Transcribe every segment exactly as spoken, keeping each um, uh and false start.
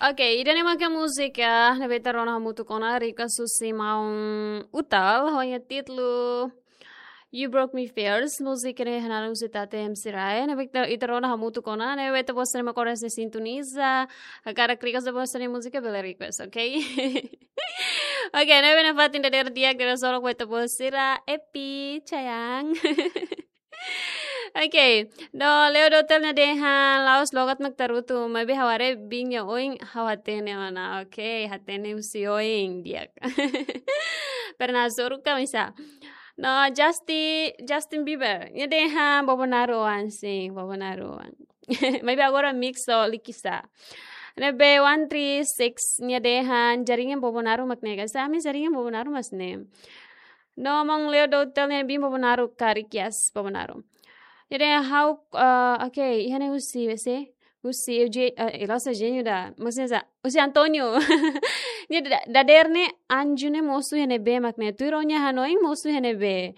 Oke, ida-ne'e maka múzika ne'ebé ita rona hamutuk ona, request husi maun Utal, ho nia títulu You Broke Me First, múzika ne'e hanesan husi Tate M C Rae, ne'ebé ita, ita rona hamutuk ona, ne'ebé ita-boot sira mak oras ne'e sintoniza, hakarak request ita-boot sira-nia múzika bele request, oke? Oke, ne'ebé nafatin dadeer di'ak, dadeer solok ba ita-boot sira, Epi, Chayang. Oke, no Leo Dotel nia dehan la'ós logat mak tarutu, maibé ha'u haree biin nia oin, ha'u hatene ona. Oke, hatene husi oin di'ak. Pernah soruk ka misa. No Justin, Justin Bieber nia dehan Bobonaro oan sin, Bobonaro oan. Maibé agora mix ho Likisá. Ne'ebé one three six nia dehan jaringan Bobonaro mak ne'e ka. Sa ami jaringan Bobonaro mak ne'e. No maun Leo Dotel nia biin Bobonaro karik, yes, Bobonaro. Jadi ha'u, eh, oke, iha ne'e husi, husi, husi Eugênio, eh, Elosa Eugênio da, maksudnya sa, husi António. Nia da-, dadeer ne'e anju ne'e mosu iha ne'ebé mak ne'e. Tuir ó-nia hanoin mosu iha ne'ebé.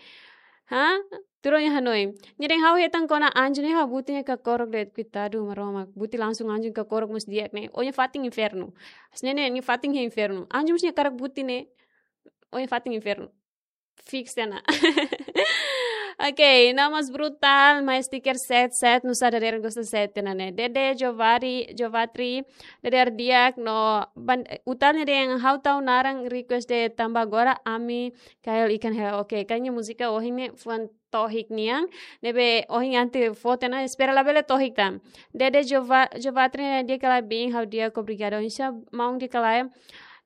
Ha? Tuir ó-nia hanoin. Nia dehan ha'u hetan kona anju ne'e ha'u buti nia kakorok de'it, koitadu Maromak. Buti langsung anju kakorok mós di'ak ne'e. Ó-nia fatin infernu. Hanesan ne'e nia fatin iha infernu. Anju mós nia hakarak buti ne'e. Ó-nia fatin infernu. Fix tiha ona. Oke, no mós Brutal, mai stiker set, set, nusá dadeer gosta set tiha ona ne'e. Dede Jovari, Jovatri, dadeer di'ak no ban-, Utal nia dehan ha'u tau naran request de'it tanba agora ami kail ikan hela. Oke, kayaknya múzika ohin ne'e fuan tohik nian, ne'ebé ohin Yanti fó tiha ona, espera labele tohik tan. Dede Jova-, Jovatri nia di'ak ka lae biin, ha'u di'ak, obrigada. Oinsá maun, di'ak ka lae?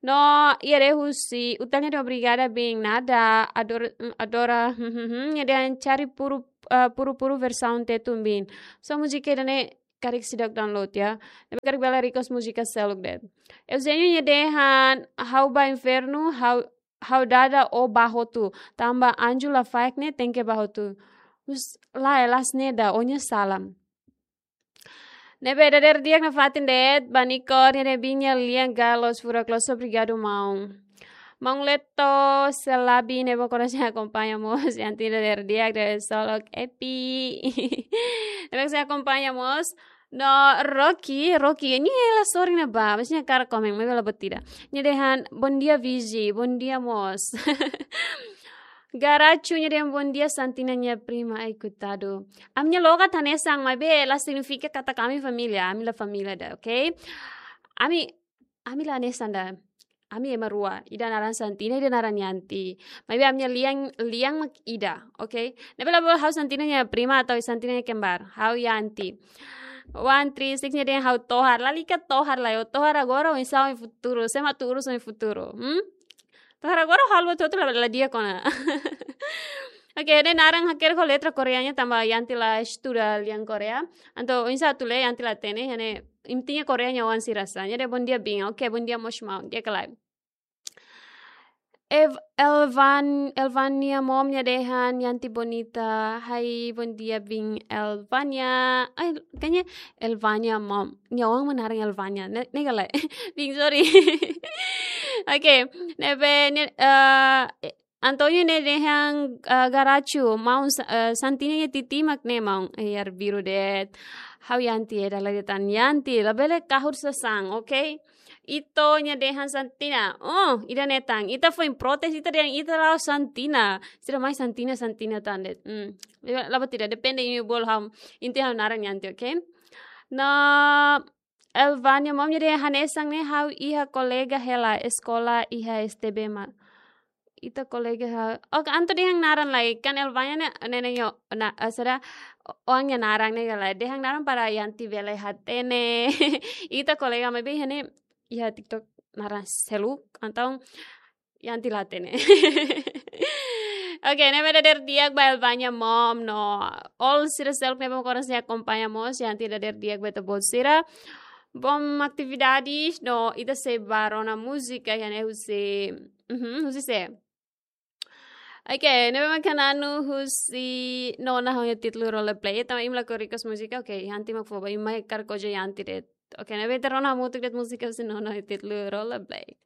No iha de'it husi Utal nia dehan obrigada biin, nada, ador-, adora, nia dehan cari puru, eh, puru-puru versaun Tetun biin. So múzika ida-ne'e karik seidauk download ya. Ne'ebé karik bele request múzika seluk de'it. Eugênio nia dehan ha'u ba infernu, ha'u, ha'u dada ó bá hotu. Tanba anju lafaek ne'e tenke bá hotu. Us, lae, la'ós ne'e ida, ó-nia sala. Ne'ebé dadeer di'ak nafatin de'it, Banikor nia dehan biin nia lian galo, furak loos, obrigadu maun. Maun Leto Selabi ne'ebé agora sei akompaña mós, Yanti, dadeer di'ak, dadeer solok, Epi. Ne'ebé sei akompaña mós. No Rocky, Rocky, nia la sorin ne'ebá, mas nia hakarak komen, maibé la buat ida. Nia dehan, bom dia Vigi, bom dia mós. Garachu nia dehan bom dia Santina nia prima, ai koitadu. Ami-nia logat hanesan, maibé la signifika katak ami família, ami la família ida, oke? Ami, ami la hanesan ida. Ami ema rua, ida naran Santina, ida naran Yanti. Maibé ami-nia lian, lian mak ida, oke? Ne'ebé labele ha'u Santina nia prima atau Santina nia kembar, ha'u Yanti. One three six nia dehan ha'u tohar, lalika tohar lae, ó tohar agora, oinsá ó-nia futuru, sé mak atu urus ó-nia futuru, hmm? Tohar agora halo tutu la, la di'ak ona. Oke, ne'e naran hakerek ho letra Koreanya tanba Yanti la estuda lian Korea. Entaun oinsá atu lee Yanti la hatene, ne'e intinya Koreanya oan sira sa. Nia dehan bom dia biin. Oke, bom dia mós maun, di'ak ka lae? Ev-, Elvan, Elvania Mom nia dehan Yanti bonita. Hai, bom dia biin Elvania. Ai, kayaknya Elvania Mom. Nia oan mak naran Elvania. Ne'e, ne'e ka lae? Biin, sorry. Oke, ne'ebé, ne'e, eh, Antonio nia dehan, eh, Garachu, maun Sa-, eh, Santina nia titi mak ne'e maun, eh, arbiru de'it. Ha'u Yanti, eh, dala de'it tan Yanti, labele kahur sasán, oke? Ito nia dehan Santina, oh, ida-ne'e tan, ita foin protes, ita dehan ita la'ós Santina. Sira mai Santina, Santina tan de'it. Hmm. La buat ida, depende imi bolu ha'u, inti ha'u naran Yanti, oke? No, Elvania Mom nia dehan hanesan ne'e ha'u iha kolega hela eskola iha S T B mak. Ita kolega ha'u. Oke, entaun dehan naran lai. Kan Elvania ne'e, ne'e, ne'e, yo, na, eh, sira, o-, oan nia naran ne'e ka lae. Dehan naran para Yanti bele hatene. Ita kolega maibé iha ne'e, iha TikTok naran seluk, entaun Yanti la hatene. Oke, ne'ebé dadeer di'ak ba Elvania Mom no all sira seluk ne'ebé agora sei akompaña mós, Yanti dadeer di'ak ba ita-boot sira. Bom atividades, no ita sei bá rona múzika iha ne'e husi, mhm, husi sé? Oke, ne'ebé mak Nanu husi Nona ho nia títulu Rollerblade, tanba imi lakohi request múzika, oke, Yanti mak fó ba, imi mak hakarak oje Yanti de'it. Oke, ne'ebé ita rona hamutuk de'it múzika husi Nona ho nia títulu Rollerblade.